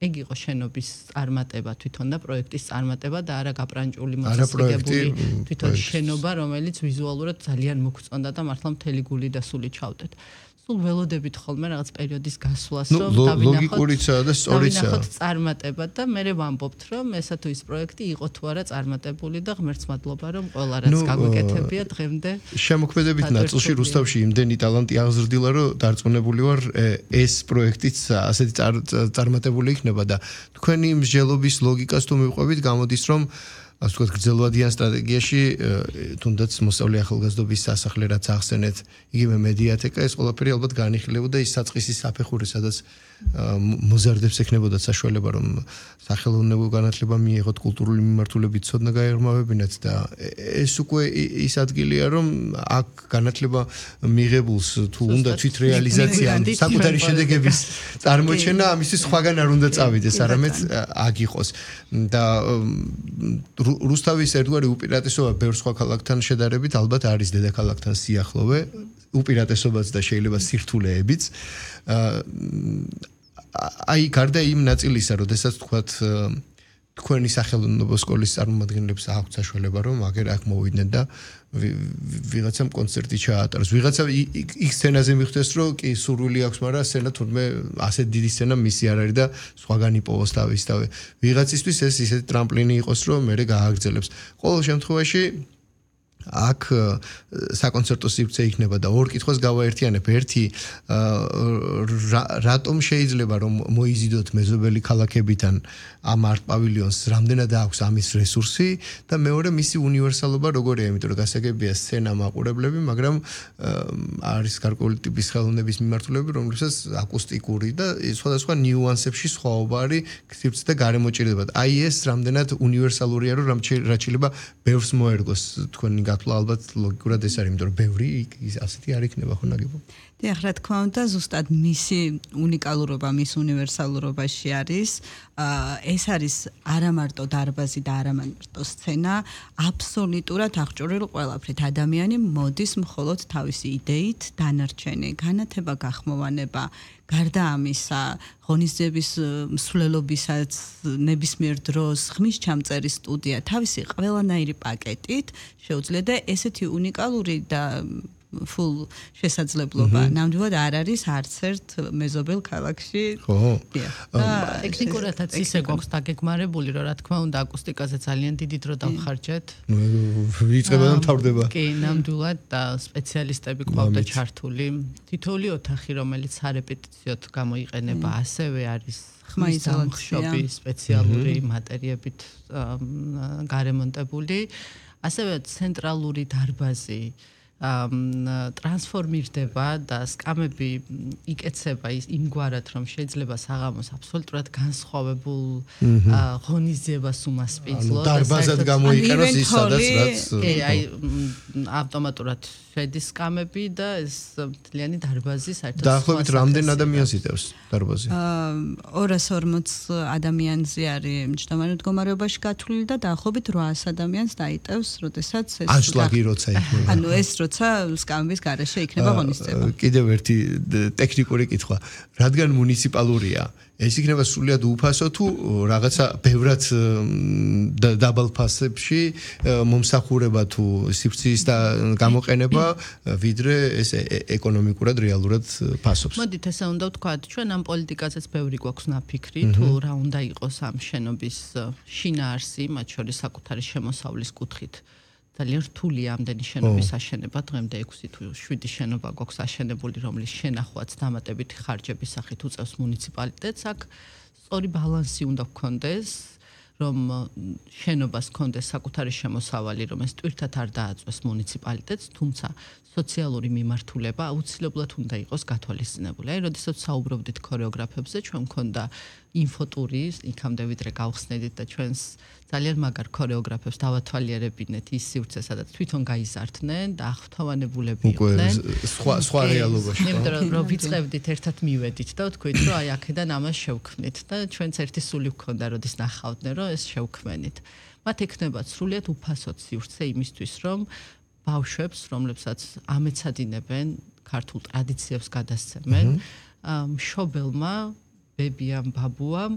ეგ იყო შენობის წარმატება თვითონ და პროექტის წარმატება და არა გაპრანჭული მოცილებული თვითონ შენობა, რომელიც ვიზუალურად ძალიან მოგწონდა და მართლა მთელი გული და სული ჩავდეთ. სულ ველოდებით ხოლმე რაღაც პერიოდის გასვლას, რომ ლოგიკურიცაა და სწორიცაა. წარმატება და მე ვამბობთ, რომ ესა თუ ის პროექტი იყო თუ არა წარმატებული და ღმერთს მადლობა, რომ ყველა რაც გაგვეკეთებია დღემდე. შემოქმედებით ნაწილში რუსთავში იმდენი ტალანტი აღზრდილა, რომ დარწმუნებული ვარ, ეს პროექტიც ასეთი წარმატებული იქნება და თქვენი მსჯელობის ლოგიკას თუ მივყვებით, გამოდის, რომ ასე ვთქვათ, გრძელვადიან სტრატეგიაში თუნდაც მოსწავლე ახალგაზრდობის სასახლე რაც ახსენეთ, იგივე მედიათეკა, ეს ყველაფერი ალბათ განიხილებოდა ის საწყისი საფეხური, სადაც მოზარდებს ექნებოდა საშუალება, რომ სახელოვნებო განათლება მიიღოთ, კულტურული მიმართულებით ცოდნა გაეღრმავებინათ და ეს უკვე ის ადგილია, რომ აქ განათლება მიღებულს თუ უნდა თვითრეალიზაცია, საკუთარი შედეგების წარმოჩენა, ამისთვის სხვაგან არ უნდა წავიდეს, არამედ აქ იყოს და რუსთავის ერთგვარი უპირატესობა ბევრ სხვა ქალაქთან შედარებით ალბათ არის დედაქალაქთან სიახლოვე, უპირატესობაც და შეიძლება სირთულეებიც. აი გარდა იმ ნაწილისა, როდესაც თქვათ თქვენი სახელმწიფო სკოლის წარმომადგენლებს აქვს საშუალება, რომ აგერ აქ მოვიდნენ და ვიღაცამ კონცერტი ჩაატაროს. ვიღაცა იქ სცენაზე მიხვდეს, რომ კი სურვილი აქვს, მაგრამ სცენა თურმე ასეთ დიდი სცენა მისი არ არის და სხვაგან იპოვოს თავისთავად. ვიღაცისთვის ეს ისეთი ტრამპლინი იყოს, რომ მე გააგრძელებს. ყოველ შემთხვევაში აქ საკონცერტო სივრცე იქნება და ორ კითხვას გავაერთიანებ. ერთი, რატომ შეიძლება რომ მოიზიდოთ მეზობელი ქალაქებიდან ამ არტ პავილიონს, რამდენად აქვს ამის რესურსი და მეორე მისი უნივერსალობა როგორია, იმიტომ რომ გასაგებია სცენა მაყურებლები, მაგრამ არის გარკვეული ტიპის ხელოვნების მიმართულები, რომლებსაც აკუსტიკური და სხვადასხვა ნიუანსებში სხვაობა არის სივრცე და გარემოჭირდება. აი ეს რამდენად უნივერსალურია, რომ რაც შეიძლება ბევრს მოერგოს თქვენი გათვლა ალბათ ლოგიკურად ეს არის, იმიტომ რომ ბევრი ასეთი არ იქნება ხო ნაგებობა. დიახ, რა თქმა უნდა, ზუსტად მისი უნიკალურობა, მის უნივერსალურობაში არის, ეს არის არა მარტო დარბაზი და არა მარტო სცენა, აბსოლუტურად აღჭურვილ ყველაფრით. ადამიანი მოდის მხოლოდ თავისი იდეით, დანარჩენი განათება, გახმოვანება, გარდა ამისა, ღონისძიების მსვლელობისაც ნებისმიერ დროს ხმის ჩამწერის სტუდია, თავისი ყველანაირი პაკეტით შეუძლია და ესეთი უნიკალური და full შესაძლებლობა. ნამდვილად არ არის არც ერთ მეზობელ ქალაქში. ხო. ტექნიკურადაც ისე გვაქვს დაგეგმარებული, რომ რა თქმა უნდა აკუსტიკაზე ძალიან დიდი დრო დავხარჯეთ. ვიწყება და მთავრდება. კი, ნამდვილად და სპეციალისტები გვყავდა ჩართული. თითოეული ოთახი, რომელიც სარეპეტიციოდ გამოიყენება, ასევე არის ხმაიზოლაცია, სპეციალური მატერიებით გარემონტებული. ასევე ცენტრალური დარბაზი ტრანსფორმირდება და სკამები იკეცება იმგვარად, რომ შეიძლება საღამოს აბსოლუტურად განსხვავებულ ღონისძიებას უმასპინძლოს. დარბაზად გამოიყენოს ის სადაც რაც აი ავტომატურად შედის სკამები და ეს მთლიანი დარბაზი საერთოდ დაახლოებით რამდენ ადამიანს იტევს დარბაზი? 240 ადამიანზე არის მჯდომარე მდგომარეობაში გათვლილი და დაახლოებით 800 ადამიანს დაიტევს, როდესაც ეს ანშლაგი როცა იქნება. ანუ ეს როცა სკამების გარეშე იქნება ღონისძიება. კიდევ ერთი ტექნიკური კითხვა. რადგან მუნიციპალურია, ეს იქნება სრულიად უფასო თუ რაღაცა ბევრად დაბალ ფასებში მომსახურება თუ სივრცის და გამოყენება, ვიდრე ეს ეკონომიკურად რეალურად ფასობს. მოდით ესე უნდა ვთქვათ, ჩვენ ამ პოლიტიკაზეც ბევრი გვაქვს ნაფიქრი, თუ რა უნდა იყოს ამ შენობის შინაარსი, მათ შორის საკუთარი შემოსავლის კუთხით. ძალიან რთულია ამდენი შენობის აშენება, დღემდე 6 თუ 7 შენობა გვაქვს აშენებული, რომლის შენახვაც დამატებითი ხარჯების სახით უწევს მუნიციპალიტეტს. აქ სწორი ბალანსი უნდა გქონდეს, რომ შენობას გქონდეს საკუთარი შემოსავალი, რომ ეს ტვირთად არ დააწვეს მუნიციპალიტეტს, თუმცა სოციალური მიმართულება აუცილებლად უნდა იყოს გათვალისწინებული. აი, როდესაც საუბრობდით ქორეოგრაფებზე, ჩვენ მქონდა ინფოტური, იქამდე ვიდრე გავხსნედით და ჩვენს ძალიან მაგარ ქორეოგრაფებს დავათვალიერებინეთ ის სივრცე, სადაც თვითონ გაიზარდნენ და აღფრთოვანებულები იყვნენ. სხვა რეალობაში. იმიტომ რომ ვიწყებდით ერთად მივედით და ვთქვით, რომ აი აქედან ამას შევქმნით და ჩვენც ერთი სული გქონდა, როდის ნახავდნენ, რომ ეს შევქმენით. მათ ექნებათ სრულიად უფასოდ სივრცე იმისთვის, რომ ბავშვებს, რომლებსაც ამეცადინებენ, ქართულ ტრადიციებს გადასცემენ, მშობელმა ბებიამ ბაბუამ